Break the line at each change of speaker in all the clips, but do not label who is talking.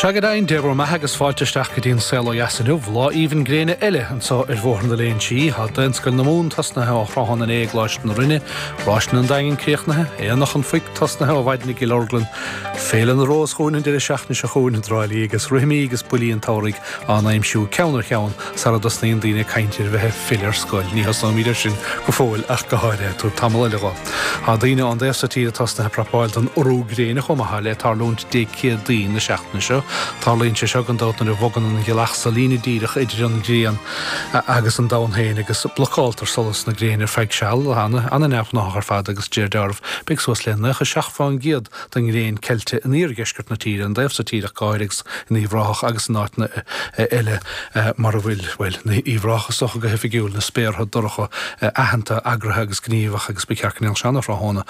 Sea go deimhin, Dé bhur mbeatha agus fáilte isteach go dtí an Saol Ó Dheas inniu, lá aoibhinn gréine eile anseo ar Bhóthar na Léinsí. Tá Daonscoil na Mumhan tosnaithe ó thráthnóna inné i gColáiste na Rinne, Ráiseanna an Daingin críochnaithe, Aonach an Phoic tosnaithe ó mhaidin i gCill Orglan, Féile na Rós chugainn an deireadh seachtaine seo chugainn i dTrá Lí agus rithimí agus buillí an tsamhraidh á n-aimsiú ceann ar cheann sara dtosnaíonn daoine ag caint ar bheith ag filleadh ar scoil. Ní thosnóimid air sin go fóill ach go háirithe. Tabhair tamall eile dho. Tá daoine ón dtaobh so tíre tosnaithe ag prapáil don urú gréine chomh maith, le tarlúint Dé Céadaoin na seachtaine seo. Tarlaíonn sé seo gan dabht nuair a bhogann an ghealach sa líne díreach idir an ghrian agus an domhan féin agus blocáltar solas na gréine ar feadh seal. Ana-neamhghnáthach ar fad agus de réir dealraimh beidh suas le 97% den ngréin ceilte in iardheisceart na tíre, an dtaobh so tíre ach go háirithe agus in Uíbh Ráthach agus in áiteanna eile mar a bhfuil, bhuel, in Uíbh Ráthach is dócha go hoifigiúil, na spéartha dorcha aitheanta, eagraithe agus gníomhach agus ba cheart go ndéanfadh sé ana-thráthnóna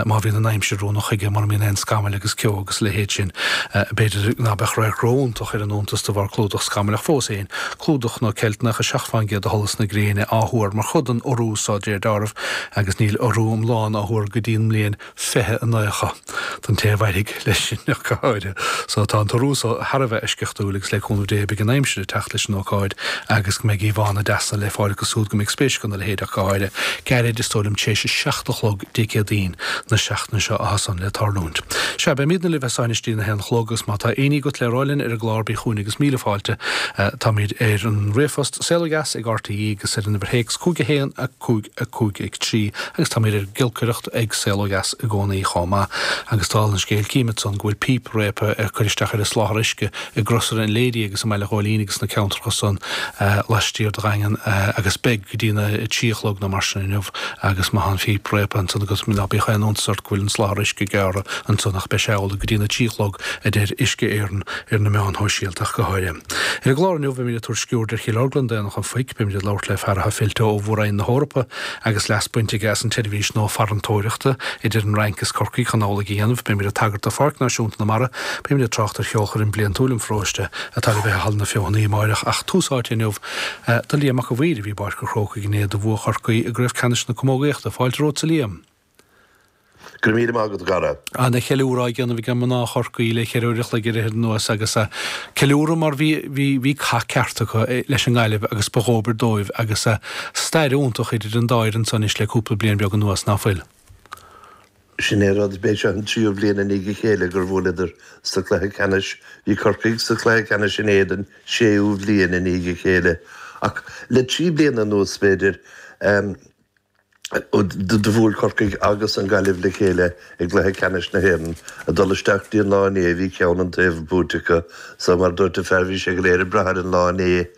má bhíonn an aimsir oiriúnach chuige, mura mbíonn aon scamaill agus ceo agus a leithéid sin. B'fhéidir ná beadh radharc ró-iontach ar an iontas de bharr clúdach scamaill ach fós féin, clúdach nó ceilt 97% de sholas na gréine á thuar mar chuid den urú so de réir dealraimh agus níl urú iomlán á thuar go dtí an mbliain 2090 don té a mhairfidh leis sin ach go háirithe. So tá an t-urú so thar a bheith eisceachtúil agus le cúnamh Dé beidh an aimsir ag teacht leis an ócáid agus go mbeidh íomhánna deasa le fáil acu súd go mbeidh spéis acu ina leithéid ach go háirithe. Gairid, is dóigh liom, tar éis a 7 a chlog Dé Céadaoin na seachtaine seo atá san le tarlúint. Sea, beimídne libh as so anois dtí an 1 a chlog agus má tá éinní agat le rá linn ar an gclár bí chugainn agus míle fáilte. Táimid ar an ríomhphost saolodheas ag RTE agus ar an uimhir théacs 5 1 5 5 3 agus táimid ar an gciolcaireacht ag Saol Ó Dheas i gcónaí chomh maith. Agus dála an scéil címid san go bhfuil píp réabtha ag cur isteach ar an soláthar uisce i gCrosaire an Lady agus i mBaile Ghóilín agus sna ceantracha san laistiar de Dhaingean agus beidh go dtí na 3 a chlog nó mar sin inniu agus má tá an phíp réabtha ansan agat ná bíodh aon iontas ort go bhfuil an soláthar uisce gearrtha ansan ach beidh sé amhlaidh go dtí na 3 a chlog a deir Uisce Éireann ar na meáin shóisialta ach go háirithe. Ar an gclár inniu beimid ag tabhairt sciuird ar Chill Orglan d'Aonach an Phoic, beimid ag labhairt le fear atá fillte ó Mhór-Roinn na hEorpa agus leas bainte aige as an tseirbhís nua farantóireachta idir an Fhrainc is Corcaigh chun amhlaidh a dhéanamh, beimid ag tagairt do Pháirc Náisiúnta na Mara, beimid ag trácht ar cheolchoirm bliantúil an pharóiste atá le bheith i Halla na Feothanaí amáireach ach tús áite inniu do Liam Mac a' Mhaoir a bhí i bPáirc an Chrócaigh inné do bhua Chorcaí i gCraobh Ceannais na Camógaíochta. Fáilte romhat a Liam.
Go raibh míle maith agat, a chara.
Ana cheiliúradh á dhéanamh ag mná Chorcaí le cheithre uair a chloig ar fhichead anuas agus ceiliúradh mar bhí bhí bhí cath ceart acu leis an nGaillimh agus ba dhóbair dóibh agus stair iontach idir an dá fhoireann san anois le cúpla bliain beag anuas, ná fuil?
Sin é an rud, b'é seo an tríú bhliain i ndiaidh a chéile gur bhuaileadar sa chluiche ceannais. Bhí Corcaigh sa chluiche ceannais in éadan séú bhliain i ndiaidh a chéile. Ach le trí bliana anuas, b'fhéidir, Do bhuail Corcaigh agus an Ghaillimh le chéile i gcluiche ceannais na hÉireann. Ag dul isteach dtí an lá inné bhí ceann an taobh buaite acu. So mar a dúirt an fear bhí sé go léir ag brath ar an lá inné.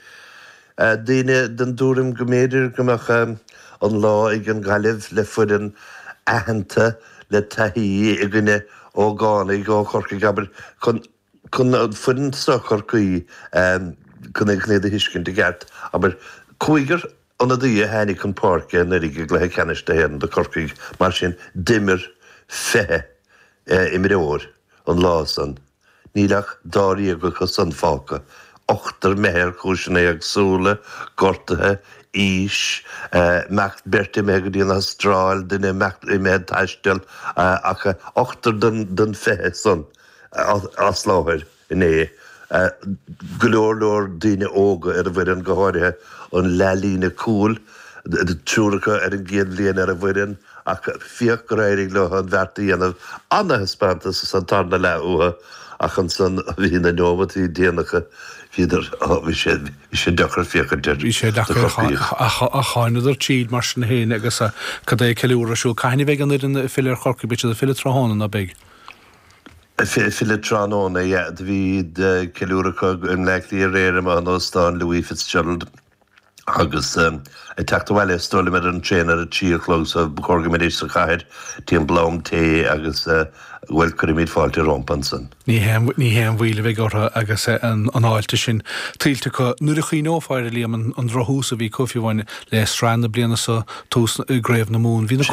Daoine den dtuairim go mb'fhéidir go mbeadh an lá ag an Ghaillimh le foireann aitheanta le taithí i gcoinne ógánaigh ó Chorcaigh abair chun Chun foireann seo Chorcaí chun iad a thuiscint i gceart, abair, cúigear ionadaí a tháinig chun páirce anuraidh i gcluiche ceannais na hÉireann do Chorcaigh, mar sin d'imir 20 imreoir an lá san. Níl ach dáréag acu san fágtha, ochtar imithe ar chúiseanna éagsúla, gortuithe, aois, imeacht, beirt imithe go dtí an Astráil, duine imithe ag taisteal, ach ochtar den 20 san. as láthair inné. Go leor leor daoine óga ar an bhfoireann, go háirithe an leathlíne cúil, triúr acu ar an gcéad bhliain ar an bhfoireann ach féach gur éirigh leo an bheart a dhéanamh. Ana-thaispeántas sa tarna leath uathu ach ansan bhí na neomataí déanacha, bhíodar, bhí sé, bhí sé deacair féachaint air
Bhí sé
do
deacair
Chorcaígh.
ach thánadar tríd mar sin féin agus cad é ceiliúradh ar siúl? Cathain a bheidh an fhoireann ag filleadh ar Chorcaigh? Beidh siad ag filleadh tráthnóna, ná beidh?
Filleadh tráthnóna, yeah. Do bhí ceiliúradh acu i mBleá Cliath aréir amuigh in Óstán Louis Fitzgerald agus ag teacht abhaile is dóigh liom ar an traein ar a 3 a chlog so ba chóir go mbeidís sa chathair timpeall am tae agus bhuel cuirfimid fáilte rompu ansan.
Ní haon ní haon mhoill a bheidh orthu agus an fháilte sin tuillte acu. Nuair a chuimhneofá air, a Liam, an drochthús a bhí acu fiú amháin le sraith na bliana seo, tús i gCraobh na Mumhan, bhí na.